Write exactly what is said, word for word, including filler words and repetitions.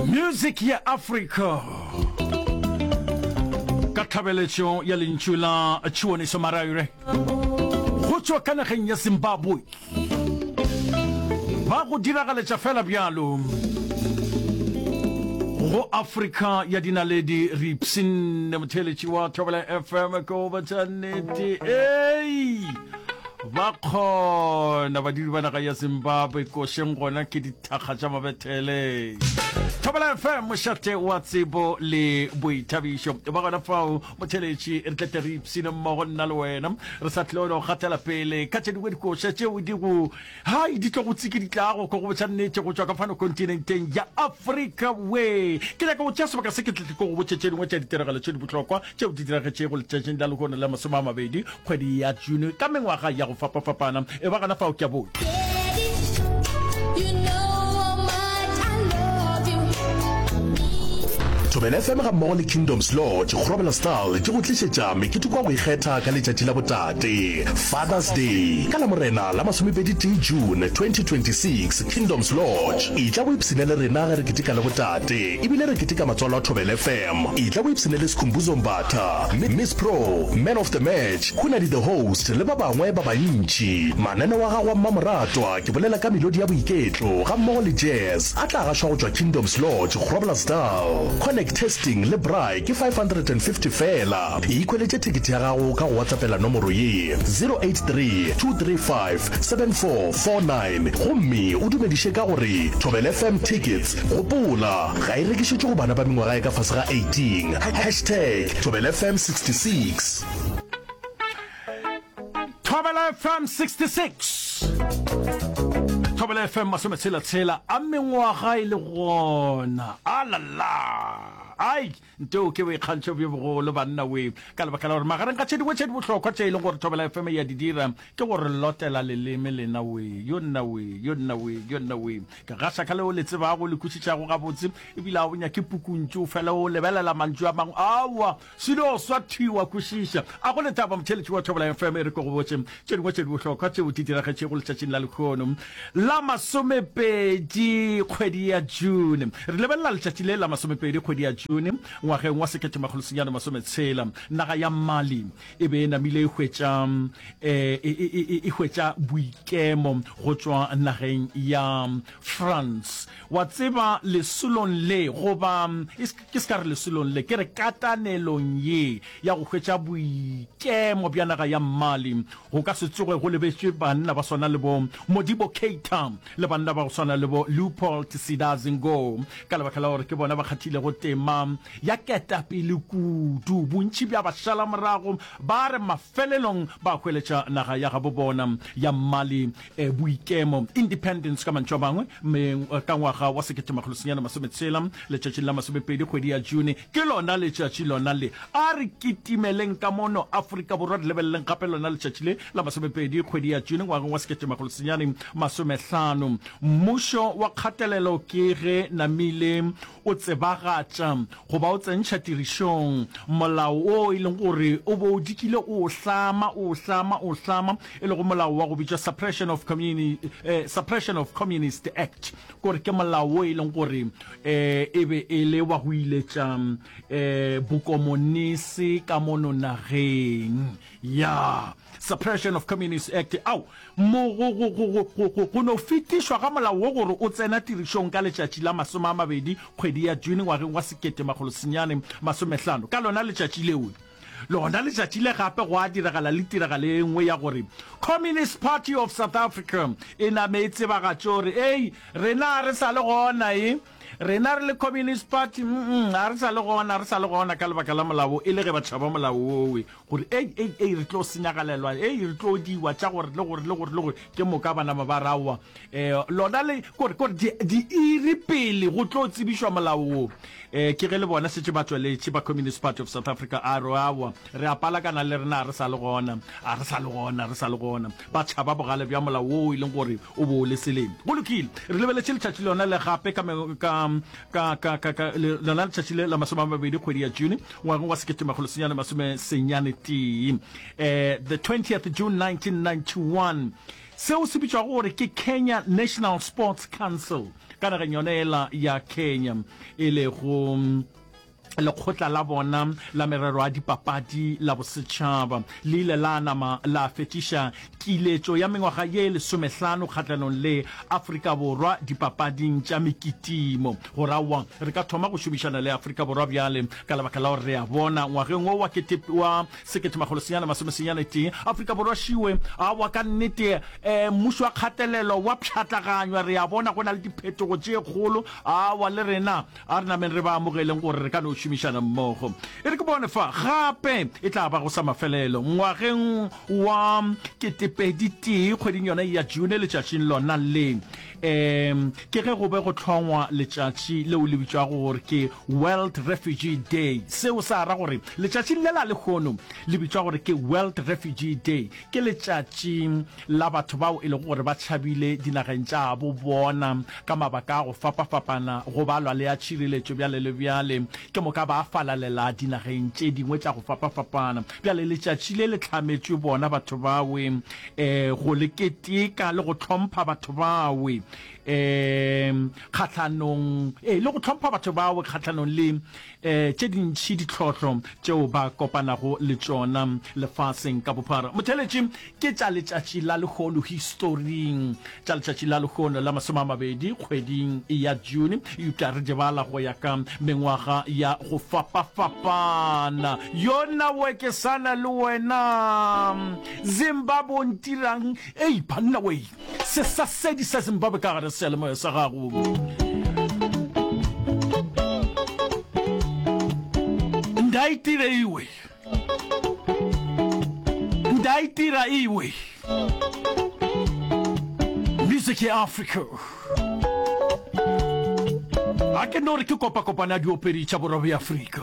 Music ya Afrika ka tlhabeletšo ya lentšu la Chiwoniso Maraire go tšwa ka nageng ya Zimbabwe ba go diragaletša fela bjalo go Afrika ya dinaledi. Re ipshinne, motheeletši wa Thobela F M, ke go botša nnete. Ei, ba kgona badudi ba naga ya Zimbabwe košeng, gona ke dithakga tša mabethele. Thobela F M, mošate wa tsebo le boithabišo. Ba gona fao, motheeletši, re tlete re ipshine mmogo nna le wena. Re sa tlile go gatela pele ka tše dingwe dikoša tšeo di go hai di tlo go tsikiditlago, ko go botša nnete, go tšwa ka fano kontinenteng ya Afrika. We ke nyaka go tšea sebaka se ke tle ko go botše tše dingwe tša ditiragalo tše di bohlokwa tšeo di diragetšego letšatšing la lehono la masome a mabedi kgwedi ya June ka mengwaga ya go fapafapana. E ba gona fao, ke a boa. You know how much I love you. Thobela F M ga mmogo le Kingdoms Lodge Groblersdal di go tlišetša meketeko wa go ikgetha ka letšatši la botate, Father's Day, ka Lamorena la masomepedi tee June twenty twenty-six, Kingdoms Lodge. E tla bo ipshine le rena ge re keteka le botate, ebile re keteka matswalo a Thobela F M. E tla bo ipshine le Skhumbuzo Mbatha, Miss Pro, Man of the Match, Hunadi the Host le ba bangwe ba bantši. Mananeo a gago a mmamoratwa, ke bolela ka melodi ya boiketlo ga mmogo le jazz, a tla gašwa go tšwa Kingdoms Lodge Groblersdal. Connect testing le braai ke five hundred and fifty fela. Ikhweletše thekete ya gago ka go WhatsAppela nomoro ye zero eight three, two three five, seven four four nine gomme o dumediše ka gore Thobela F M tickets. Gopola, ga e rekišetšwe go bana ba mengwaga ya ka fase ga eighteen. Hashtag Thobela F M sixty-six. Thobela F M sixty-six, Thobela F M masometshela-tshela a mengwaga e le gona. Alala, ai, nteo ke boikgantšho bjo bogolo, banna we, ka lebaka la gore magareng ga tše dingwe tše di bohlokwa tše e leng gore Thobela F M ya di dira ke gore lotela leleme lena we. Yo nna we, yo nna we, yo nna we, ke gaša ka leo le tsebago, le kwešišago gabotse, ebile a o nyake pukuntšu fela o lebelela mantšu a mangwe. Aowa, selo swa thiwa kwešiša a go letaba. Motheletši wa Thobela F M, e re ke go botše tše dingwe tše di bohlokwa tšeo di diragetšego letšatšing la lehono la masomepedi kgwedi ya June. Re lebelela letšatši le la masomepedi kgwedi ya June ngwageng wa sekete makgolo senyane masometshela. Naga ya Mali e be e namile e hwetša um e hwetša boikemo go tšwa nageng ya France. Wa tseba, lesolong le, goba ke se ka re lesolong le, ke re katanelong ye ya go hwetša boikemo bja naga ya Mali, go ka se tsoge go lebetšwe banna ba swana le bo Modibo Keita le banna ba go swana le bo Leopold Sedar Senghor, ka lebaka la gore ke bona ba kgathilego tema ya ketapele kudu. Bontši bja bašala morago ba re mafelelong ba hweletša naga ya gabo bona ya Mali eh, boikemo, independence ka mantšu a mangwe, ka ngwaga wa sekete makgolo senyane masometshela, letšatšing la masomepedi kgwedi ya June. Ke lona letšatši lona le. A re kitimeleng ka mono Afrika Borwa, re lebeleleng gape lona letšatši le la masomepedi kgwedi ya June ngwageng wa sekete makgolo senyane masomehlano. Mmušo wa kgatelelo ke ge namile o tsebagatša goba o tsentšha tirišong molao o e leng gore o bo o dikile o hlama, o hlama, o hlama, e lego molao wa go bitšwa suppression of, communi, eh, suppression of Communist Act, kore ke molao o e leng gore eh, e be e le wa go iletša eh, bokomonisi ka mono nageng ya Suppression of Communist Act. Ao mo go go go go go go no fetišwa ga molao wo gore o tsena tirišong ka letšatši la masome a mabedi kgwedi ya June ngwageng wa sekete makgolo senyane masomehlano. Ka lona letšatši leo, lona letšatši le gape, go a diragala le tiragalo e nngwe ya gore Communist Party of South Africa e name e tsebagatše gore ei, rena re sa le gona, e rena re le Communist Party, mm a re sa le gona, re sa le gona, ka lebaka la molao, e le ge ba tšhaba molao owe gore ei, ei, ei, re tlo senyagalelwa, ei, re tlo diwa tša gore le gore le gore le gore. Ke moka banama ba raowa um lona le kore kore diiri pele go tlo tsebišwa molao wo, um ke ge le bona šetše ba tsweletše ba Communist Party of South Africa a re aowa, re a palakana le rena, a re sa le gona, a re sa le gona, re sa le gona. Ba tšhaba bogale bja molao wo e leng gore o bo o le seleng. Go lokile, re lebeletše letšatši lona le gape ka ka ka ka ka ka lona letšatši le la masome a mabedi kgwedi ya June ngwageng wa sekete makgolo senyane masome senyane tee, um the twentieth June nineteen ninety-one, seo se bitšwago gore ke Kenya National Sports Council. ka nageng yona ela ya Kenya, e lego lekgotla la bona la merero ya dipapadi la bosetšhaba le ile la nama la fetšiša kiletšo ya mengwaga ye lesomehlano kgahlanong le Afrika Borwa dipapading tša mekitimo. Go ra wa re ka thoma go šomišana le Afrika Borwa bjale ka lebaka la gore re a bona ngwageng wo wa kete wa sekete makgolo senyane masome senyane tee Afrika Borwa šiwe awa ka nnete um mmušo wa kgatelelo wa pšhatlaganywa. Re a bona go na le diphetogo tše kgolo awa le rena a re nameng re ba amogeleng gore re ka no šomišana mmogo. E re ke bone fa gape e tla ba go sa mafelelo ngwageng wa ketepedi tee kgweding yona ya June letšatšing lona le um ke ge go be go hlongwa letšatši leo le bitšwago gore ke World Refugee Day. Seo sa ra gore letšatšing le la lehono le bitšwa gore ke World Refugee Day, ke letšatši la batho bao e lego gore ba tšhabile dinageng tša bo bona ka mabaka a go fapafapana, go balwa le a tšhireletšo bjale le bjale, ke moka ba falalela dinageng tše dingwe tša go fapafapana. Bjale letšatši le le hlametšwe bona batho bawe um go le keteka le go hlompha batho bawe um kgahlanong ee le go hlompha batho bawe kgahlanong le um tše dintši ditlhohlo tšeo ba kopanago le tšona lefaseng ka bophara. Motheeletši, ke tša letšatši la lehono historing, tša letšatši la lehono la masome a mabedi kgweding ya June, eupša re di bala go ya ka mengwaga ya go fapafapana. Yona we ke sana le wena Zimbabwe o ntirang? Ei banna we, sesasedi sa Zimbabwe ka gare seyalemoya sa gago. Ndaitire iwe, ndaitira iwe, music ya Africa. A ke no re ke kopakopana ya diopedi tša borwa bja Afrika.